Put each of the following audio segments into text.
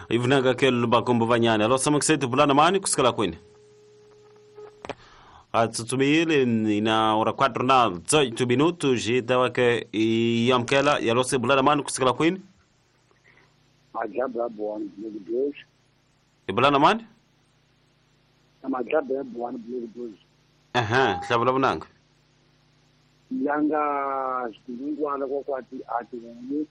Ivunanga ke lubakombo vanyana alo samaksetu bulana mani kusikala kwini atsutsumile ina ora 4 na 18 minutos itawa ke yamkela yalose bulana mani kusikala kwini Majabra buan blue dois ibulana mani Majabra buan blue dois aha hlabula bunanga yanga sidingwana kwakwati ati ni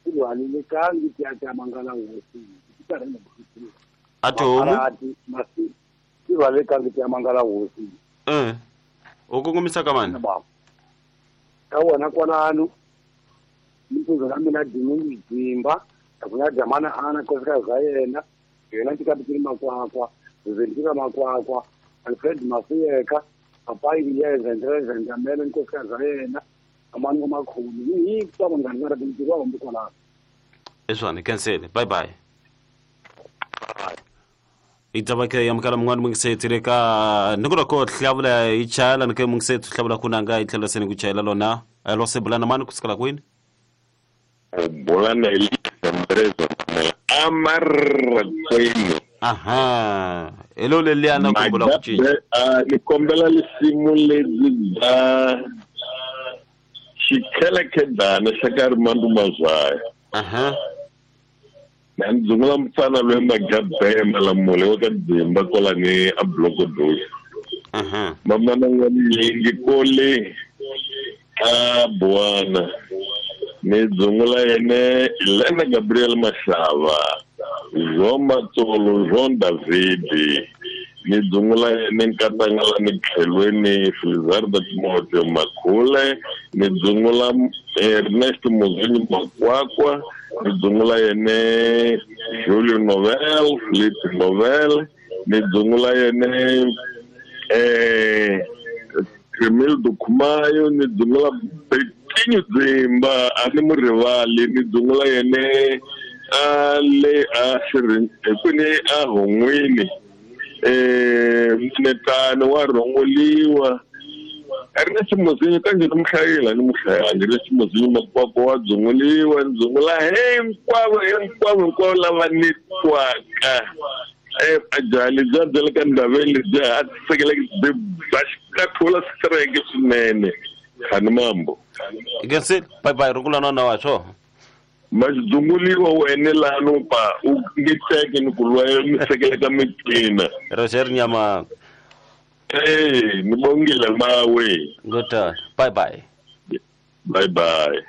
kulwalile kangi tiata mangala wosi tikarena bukhulu atomu ati masi kulwalile kangi tiata mangala wosi ukungumisa kamani ka wona kwalano mpuzo la mina dingu dzimba akuna jamana ana kosika zayena yena tikapitiri makwakwa zentika makwakwa Alfred Mafiyeka apayi yeza ndreza ndamele nkosika zayena amani ngomakhulu yi kwabo ngani binti kwabo mbukola eswane cancel bye bye itabake yamkala mngani mungisetireka nikura ko hlabula ichala nike mungisethu hlabula kunanga itlhela sene kuchayela lona alose bulana mani kusikala kwini bulana ilindreza amarra kwini aha elo leliana kumbula kuchinja nikombela lisimu lezi ba xikhelekhendana xa ka ri mandu mazaya aha na ndzungula mfana loyi Magabhe Malamule wa ka Dzimba kwalani a Bloko Dos aha mamana n'wanyingi kole a Buwana ni dzungula yene Elena Gabriel Mashava Jean Matsolo Jean David ni dzungula yene Nkatangala ni Tlhelweni Filizarda Timotheo Makhule ni dzungula Ernest Muzini Makwakwa ni dzungula yene Julio Novel Philippe Novel ni dzungula yene Cremildo Kumayo ni dzungula Betinho Dzimba a ni murivali ni dzungula yene a le a xirin kwini a Hongwini Mnetano wa rhongoliwa Ernest Muzinyo kanjhe ni muhlayela ni muhlayangi Ernest Muzinyo Makwakwa wa dzunguliwa ni dzungula hinkwavo hinkwavo hinkwavo lava ni twaka ajaha lebyiya bya le ka ndhaveni lebyiya a tisekeleke byi ba xikathula strike swinene khani mambo ikensile bye bye rungula nona wa swo maxidzunguliwa wene lano pa u nge teke ni ku lwa mi sekeleka mitina Roger Nyama ni bongile mawe ngota bye bye bye bye.